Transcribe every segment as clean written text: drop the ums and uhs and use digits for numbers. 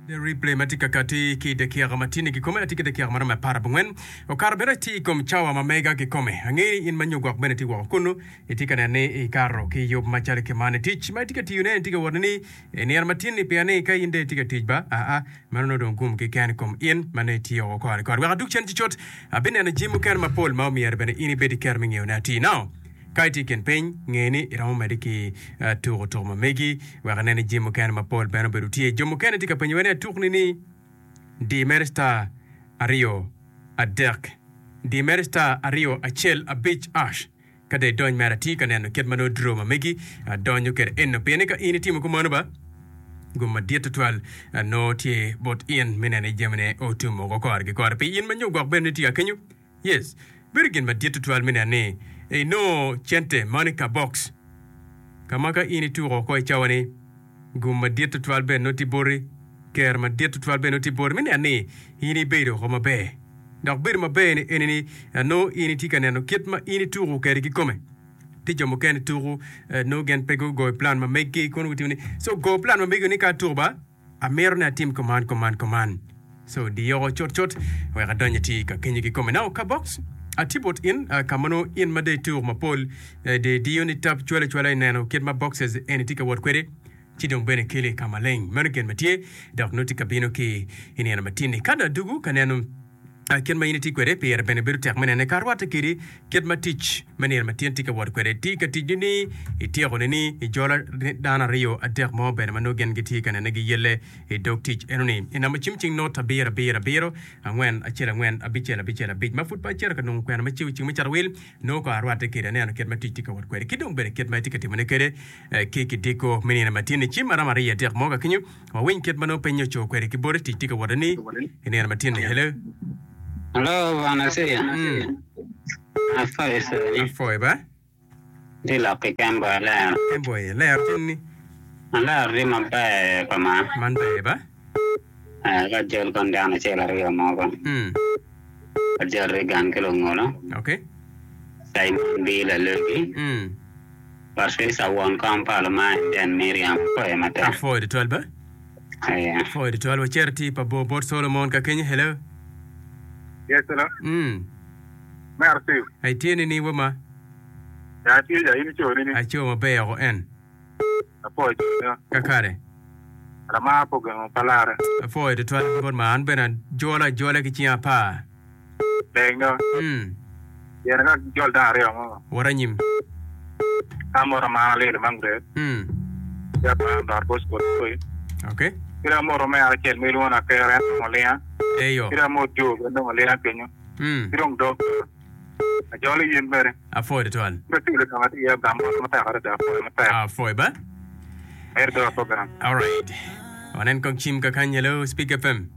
The replay ma tye ka kati ki i dakika ma tye-ni kikome atye ki dakika ma romo aparabongwen okato bene atye i kom cawa ma mega kikome. Angeyo ni in ma nyo gwok bene itye woko kunnu itye ka neno ni ikato ki yub macalo ki man i tic ma itye ka tiyone itye ka wot ni i nino ma tye-ni pien ni ka in dong itye ka tic ba aa meno nongo dong gum keken i kom in ma nongo itye woko kore kore. Wek adug cen cucut abineno jami mukene mapol ma omyero bene in ibed ki kero me ngeyone atir. Now. Ka itye i kin piny, nge ni iromo medde ki tuko tuko ma megi wek inen ni jami mukene mapol bene obedo tye. Jo mukene tye ka penyowa ni atukni ni di mere star aryo adek di mere star aryo acel abic ash ka dong idony mere atir ka neno kit ma nongo draw ma megi donyo kwede eno pien ni ka in itimo kumeno ba gum madit tutwal nongo tye bot in me neno ni jamine otum woko kore ki kore pi in ma nyo gwok bene ni tye ka kenyo. Yes, bedo gin madit tutwal me neno ni inongo cente man i kabox ka ma ka in ituko oko i cawa ni gum madit tutwal bene nongo tye boti, ker madit tutwal bene nongo tye boti me neno ni in ibedo oko maber. Dok bedo maber ni eni ni nongo in itye ka neno kit ma in ituko kwede kikome. Tye jo mukene tuko nongo gin pe gugoyo plan ma meggi kono gutimo ni so go plan ma megi ni ka atuko ba Amito ni atim kuman, kuman, kuman. So diyoko cut cut wek adony ati ka kenyo kikome. Now ka box atye bot in ka ma nongo in ma dong ituko mapol dong idiyo ni tap cwalo acwala ineno kit ma boxes eni tye ka wot kwede ci dong bene keli ka maleng. Meno gin ma tye dok nongo tye ka bino ki i nino matin-ni. Ka dong adugu ka neno Kit ma in itye kwede pire bene bedo tek me nene ka rwatte kedi kit ma tic me nino matin tye ka wot kwede. Ti ka tic ni ityeko nini ijola dano ariyo adek mo bene ma nongo gin gitye ka nene giyelle i dog tic enoni. I namba cim cing not abiro abiro abiro angwen acel angwen abicel abicel abic ma pud pe acito ka nongo kwena me cibo cing me cato wil nongo kong arwatte kedi aneno kit ma tic tye ka wot kwede ki dong bene kit ma itye ka timone kwede ki kidiko me nino matin ni cim maromo ariyo adek mo ka kenyo. Wawiny kit ma nongo piny oco kwede ki bote tic tye ka wote ni i nino matin-ni. Hello. Hello, Bwana Acia. Mm. Afoyo coni. Afoyo ba. Tye lok ki Kembo Alero. Kembo aye lero tin ni. Alero tye maber pa ma. Man ber ba. Eh, ka jol kon dano acel aryo mogo. Mm. Ajol Reagan ki lungolo. Okay. Simon B. Lalogi. Mm. Patricia won kom pa Lumai Den Miriam apwoyo matek. Apwoyo tutwal ba. Aya. Apwoyo tutwal wacito ti pa bor bot Solomon ka kenyo hello. Yes hello. Mm. Mero Steve. Ai tye nini wa ma? Ya atye ja in ico nini? Aco maber oko en. Apwoyo cone. Kakare. Lamar pe ogengo pa lare. Apwoyo tutwal bot ma an bene ajolo ajola ki cinga apar. Leng do. Mm. Yene ka jol dano aryo mo. Wot anyim. Ka moto amara lilo mangret. Mm. Ya pa dot Bosco koi. Okay. Kida moto me acel me ilwongo na kere en nongo linga. Eyo. Kida mot jo bene nongo linga kenyo. Mm. Ki dong dog. Ajolo yin bene. Apwoyo tutwal. Ka tye ka ma tye iye gam mot matek adada apwoyo matek. Apwoyo ba. Ber do program. Alright. Wanen kong cim kakany. Hello, Speak FM.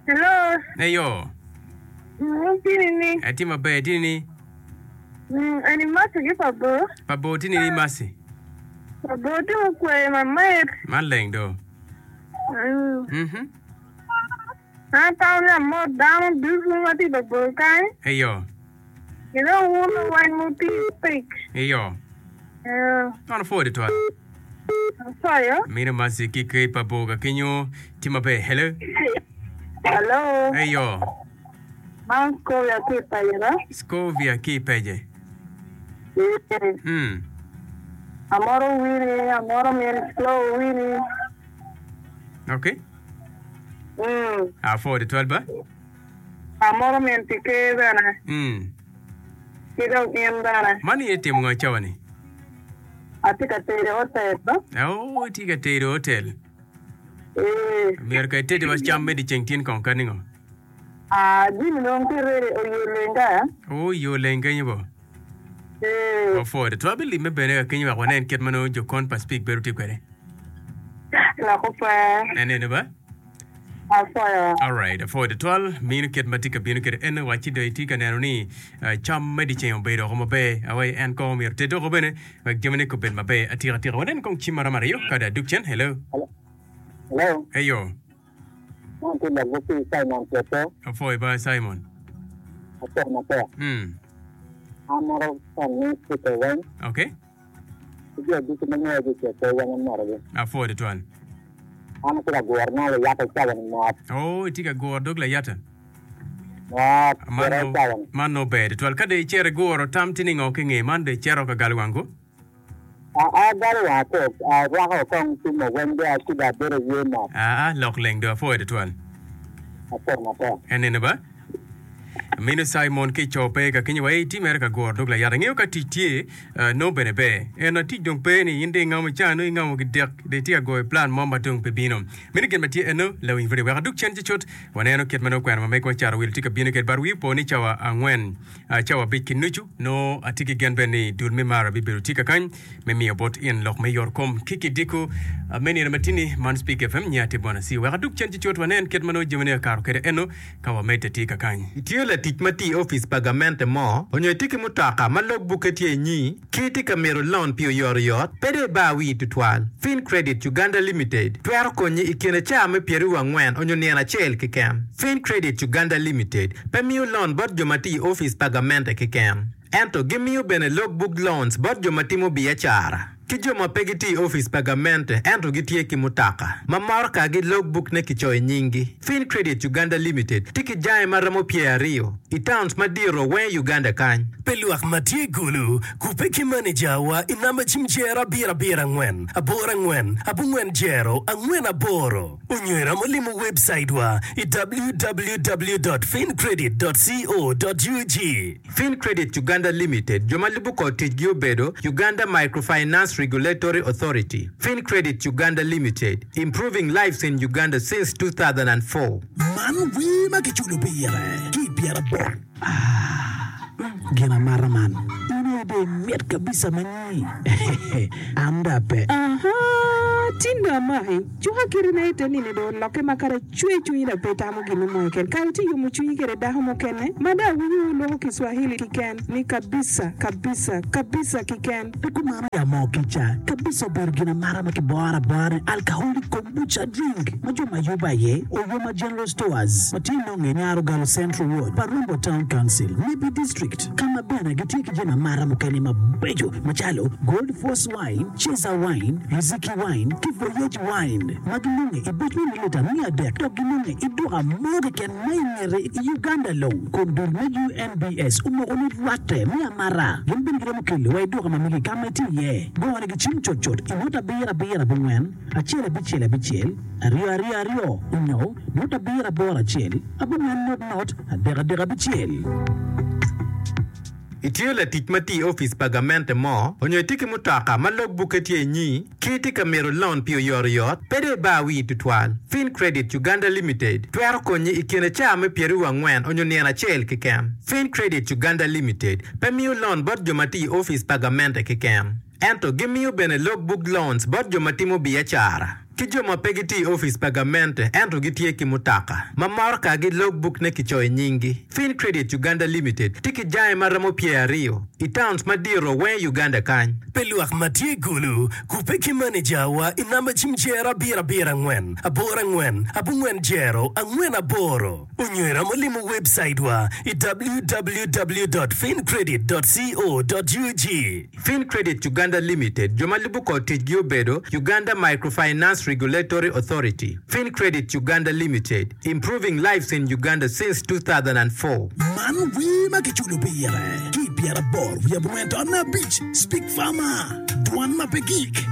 Hello. Eyo. Mm, tini ni. Atye maber, tini ni. Mm, eni Mercy ki pa bor. Pa bor tini ni Mercy. Pa bor tye mukweyo mamit. Man leng do. Mm. Mhm. An atamo ni amot dano ducu ma tye i pa bor kany. Eyo. Ki dong wun luweny mutiyo pic. Eyo. Eyo. Man opwoyo tutwal. Apwoyo. Mino Mercy ki kei pa bor ka kenyo tye maber. Hello. Hello. Eyo. Man Scovia ki i Pece ba? Scovia ki i Pece. Ee. Mm. Amoro Winnie, amoro min Flo Winnie. Okay. Mm. Apwoyo tutwal ba. Amoro min pi ker bene. Mm. Ki dong in bene. Man in itimo ngo i cawa ni? Atye ka tedo i otel ba. Oh, itye ka tedo i otel. Ee. Myero ka itedi wa cam me dyeceng tin kong kadi ngo? Ah, jami dong tye ready oye lenga. Oh, yo leng kenyo bo. Ee. Wapwoyo tutwal bilimme bene ka kenyo wek wanen kit ma nongo jokon pa Speke bedo tye kwede. Loko pe. En eno ba. Apwoyo. Alright, apwoyo tutwal. Mino kit ma tye ka bino kwede en wacci dong itye ka neno ni eh, cam me dyeceng obedo oko maber. Awai en kong omyero oted oko bene wek jamine kobed maber atika tika. Wanen kong cim maromo ariyo ka dong adug cen. Hello. Hello. Eyo. Man tye lok ki Simon Cwecco. Apwoyo ba Simon. Apwoyo matek. Mm. An moro fan ni Cwecco weng. Okay. Ki jo ducu ma ngeyo gi Cwecco weng amotogi. Apwoyo tutwal. An atye ka guro ne layata i cawa ni mot. Oh, itye ka guro dog layata? Mot, Man gure i nongo, cawa ni. man nongo ber tutwal. Ka dong icito iguro, tam tye ningo ki nge man dong icito ka galo wang ko? Aa, agalo wanga ko, arwako kong cimo weng dong acibo abedo aye mot. Aa, lok leng dong apwoyo tutwal. Apwoyo matek. En nene ba? Mino Cimon ki co pe ka kenyo wa i tye mere ka guro dog layat. Angeyo ka tic tye, nongo bene ber. Ento tic dong pe ni in dong ingamo ca nongo ingamo gidek dong itye ka goyo plan mo ma dong pe bino. Meno gin ma tye eno, lawiny pwod wek adug cen ci cut waneno kit ma nongo kwena ma megwa cato wil tye ka bino kwede. But wii opo ni cawa angwen, cawa abic ki nucu nongo atye ki gen bene ni dul me mara bibedo tye kakany me miyo bot in lok me yot kom ki kidiko me nino matini. Man Speak FM nya tye Bwana Siu. Wek adug cen ci cut wanen kit ma nongo jamine okato kwede eno. Ka wamedde tye kakany. Itye latic ma tye i opic pa gamente mo onyo itye ki mutoka ma log bukke tye inyi ki itye ka mito loan pi oyotoyot, pe dong ibar wii tutwal. Fincredit Uganda Limited twero konyi i kine caa me pyeraryo angwen onyo nino acel keken. Fincredit Uganda Limited pe miyo loan bot jo ma tye i opic pa gamente keken, ento gimiyo bene log book loans bot jo ma timo biacara. Ki jo ma pe gitye i opic pa gamente ento gitye ki mutoka ma morokagi logbook-ne kicoyo nyinggi. Fincredit Uganda Limited tye ki jange ma romo pyeraryo i towns madito weng i Uganda kany. Pi lwak ma tye i Gulu, kubbe ki manejawa i namba cim jero abiro abiro angwen aboro angwen abongwen jero angwen aboro onyo iromo limo webcaitwa i www dot fincredit dot co dot ug. Fincredit Uganda Limited, jo ma lubo kor ticgi obedo, Uganda Microfinance Regulatory Authority, Fincredit Uganda Limited, improving lives in Uganda since 2004. Man wer ma kiculo pire ki i pyeraboro. Ah, gin amata man. In aye dong imit kabisa ma nyi. An dong ape. Ahaa, tin dong amaki. Cuka kiti na ite nini dong olokke ma kadi acwe cwinyi dong pe itamo gin mo keken. Kare itye yomo cwinyi kede dako mukene ma dong awinyo wu loko Kiswahili kiken ni kabisa, kabisa, kabisa kiken. Pe kumano ya moo kica. Kabisa obedo gin amata ma kiboro abora ni alcoholic kombucha drink ma jo ma yubo aye Oyoma General Stores ma tye nonge i Nyarogalo Central Ward, Parumbo Town Council, Nebbi District ka ma bene gitye ki jami amata mukene mabeco macalo Gold Force Wine, Ceza Wine, Riziki Wine, ki Voyage Wine ma ginonge i buc me mililita 300 dok ginonge i duka mo keken ma i ngete i Uganda long kun dul me UNBS omoko ni rwatte me amata. Gin bene giromo kelo wa i duka ma megi ka ma itye iye. Gone ki cim cutcut i nota abiro abiro abongwen, acel abicel abicel, aryo aryo aryo onyo nota abiro aboro acel, abongwen not not, adek adek abicel. Itye latic ma tye i opic pa gamente mo onyo itye ki mutoka ma log bukke tye inyi ki itye ka mito loan pi oyotoyot, pe dong ibar wii tutwal. Fincredit Uganda Limited twero konyi i kine caa me pyeraryo angwen onyo nino acel keken. Fincredit Uganda Limited pe miyo loan bot jo ma tye i opic pa gamente keken, ento gimiyo bene log book loans bot jo ma timo biacara. Ki jo ma pe gitye i opic pa gamente ento gitye ki mutoka ma morokagi logbuk-ne kicoyo nyinggi. Fincredit Uganda Limited tye ki jange ma romo pyeraryo i towns madito weng i Uganda kany. Pi lwak ma tye i Gulu, kubbe ki manejawa i namba cim jero abiro abiro angwen aboro angwen abongwen jero angwen aboro onyo iromo limo webcaitwa i www dot fincredit dot co dot ug. Fincredit Uganda Limited, jo ma lubo kor ticgi obedo, Uganda Microfinance Regulatory Authority, Fincredit Uganda Limited, improving lives in Uganda since 2004. Man wer ma kiculo pire ki i pyeraboro wiye abongwen taun me abic, Speak Farmer, Dwan ma pe gik.